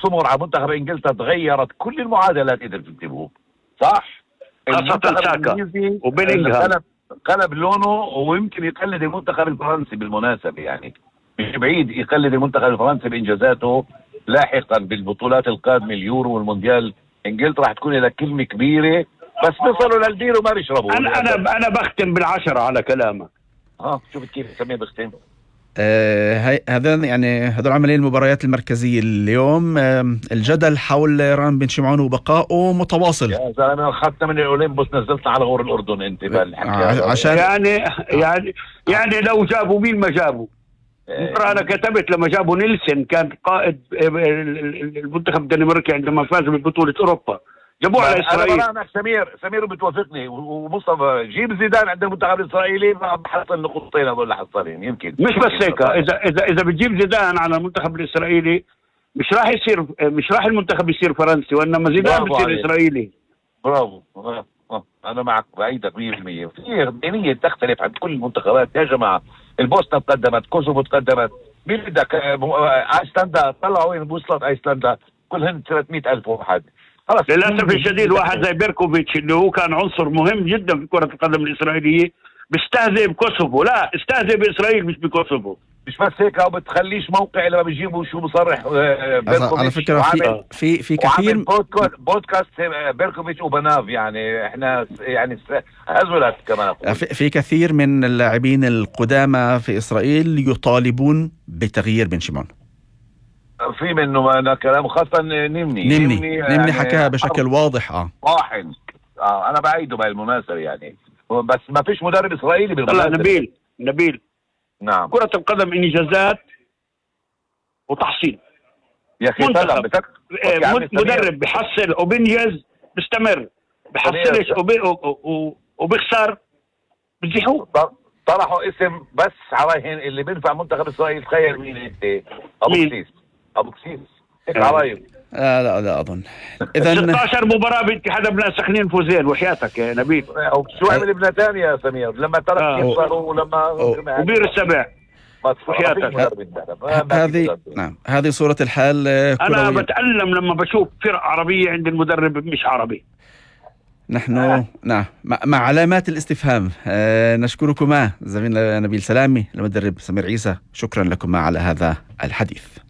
سمر على منتخب انجلترا تغيرت كل المعادلات قدروا تكتبوه صح. خاصة ساكا وبيلينغهام قلب لونه، ويمكن يقلد المنتخب الفرنسي بالمناسبة، يعني مش بعيد يقلد المنتخب الفرنسي بإنجازاته لاحقا بالبطولات القادمة، اليورو والمونديال. انجلترا راح تكون لها كلمة كبيرة، بس بيصلوا للدير وما بيشربوا. انا بختم بالعشرة على كلامك. شوف كيف سميه بختم. هذول عمليين المباريات المركزية اليوم. الجدل حول ران بن شمعون وبقائه متواصل. يا زلمة أخذتنا من الأولمبوس نزلتنا على غور الأردن أنت عشان يعني لو جابوا مين ما جابوا. أنا كتبت لما جابوا نيلسون كان قائد المنتخب الدنماركي عندما فاز ببطولة أوروبا، جابوه على إسرائيل. أنا سمير بتوافقني، ومصطفى جيب زيدان عند المنتخب الإسرائيلي ما بحصل نقطتين هذول حصلين يمكن. مش بس هيك، إذا بتجيب زيدان على المنتخب الإسرائيلي مش راح المنتخب يصير فرنسي، وإنما زيدان بيصير إسرائيلي. برافو. أنا معك بأيدك 100%. في دينية تختلف عن كل المنتخبات يا جماعة. البوسنة تقدمت، كوسوفو تقدمت، مين بدك؟ ايسلندا طلعوا وين وصلت ايسلندا؟ كلهن 300,000 واحد. للأسف الشديد واحد زي بيركوفيتش اللي هو كان عنصر مهم جدا في كرة القدم الإسرائيلية بيستهزئ بكوسوفو. لا، استهزئ بإسرائيل مش بكوسوفو. مش بس هيك، او بتخليش موقع لما بيجيبوا شو بصرح بيركوفيتش. على فكرة في كثير بودكاست بيركوفيتش وبناف، يعني احنا يعني هزلت كمان. في كثير من اللاعبين القدامى في إسرائيل يطالبون بتغيير بن شمعون. في منه أنا كلام، خاصة نمني يعني حكاها بشكل واضح. واحد أنا بعيده بالمناسبة يعني، بس ما فيش مدرب إسرائيلي بالمناسبة. نبيل نعم، كرة القدم إنجازات وتحصيل يا أخي. مدرب بيحصل وبينجز بيستمر، بيحصلش وبيخسر بتزيحوه. طرحوا اسم بس عرايهن اللي بينفع منتخب إسرائيل. تخيل مين انت؟ أبو كسيس هيك عرايب. لا أظن. إذا 16 مباراة باتحاد ابناء سخنين فوزين وحياتك يا نبيل. شو عمل ابن تانية يا سمير لما ترك يخسروا ولما وبير السبع هذه صورة الحال. أنا بتألم لما بشوف فرق عربية عند المدرب مش عربي. نحن مع علامات الاستفهام. نشكركما زميلنا نبيل سلامي، المدرب سمير عيسى، شكرا لكما على هذا الحديث.